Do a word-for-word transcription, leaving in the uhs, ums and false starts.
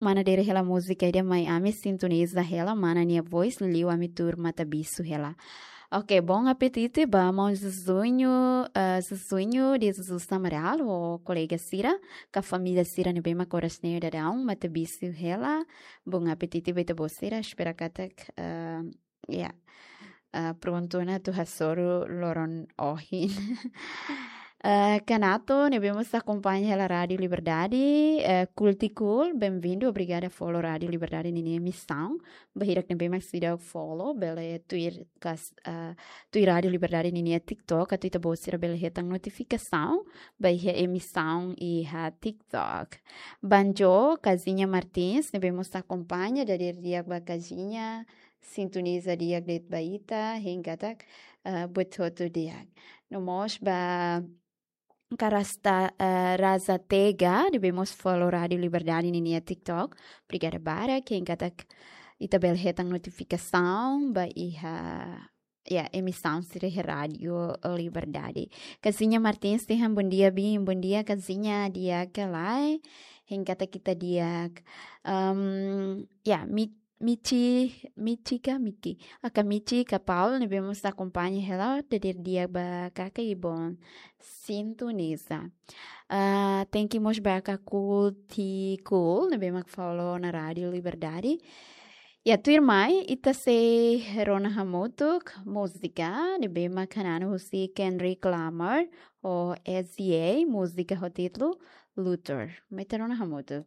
mana dere hela múzika ida mai ami sintoniza hela mana nia voice liu ami tuur mata bisu hela. Ok, bom apetite ba maun Zuzuño, eh, Zuzuño de Jesus Amaral, ho kolega sira, ka família sira ne'ebé mak oras ne'e daudaun mata bisu hela. Bom apetite ba ita-boot sira, espera katak, eh, ya, eh, prontu ona atu hasoru loron ohin. Eh, Kanato, ne'ebé mós akompaña hela Rádio Liberdade, eh, Kultikul, bem-vindo, obrigada follow Rádio Liberdade ninia emisaun. Ba hirak ne'ebé mak seidauk follow, bele tuir kas, eh, tuir Rádio Liberdade ninia TikTok, atu ita-boot sira bele hetan notifikasaun ba iha emisaun iha TikTok. Banjo, Kazinha Martins, ne'ebé mós akompaña, dadeer di'ak ba Kazinha, sintoniza di'ak de'it ba ita, hein katak, eh, buat hotu di'ak. No mós ba Karasta, eh, Raza Tega, ne'ebé mós follow Rádio Liberdade ninia TikTok. Obrigada barak, hein katak ita bele hetan notifikasaun ba iha, ya, emisaun sira iha Rádio Liberdade. Kazinha Martins dehan bom dia, bem, bom dia, Kazinha, di'ak ka lae, hein katak ita di'ak. Em, ya, mi Michi, Michi ka Miki. Aka Michi ka Paul, ne'ebé mós akompaña hela, dadeer di'ak ba kaka i bom sintoniza. Ah, thank you mós ba aka Kultikul, ne'ebé mak follow ona Rádio Liberdade. Ya, tuirmai, ita sei rona hamutuk múzika, ne'ebé mak hananu husi Kendrick Lamar, ho S Z A, múzika ho títulu Luther. Mai ita rona hamutuk.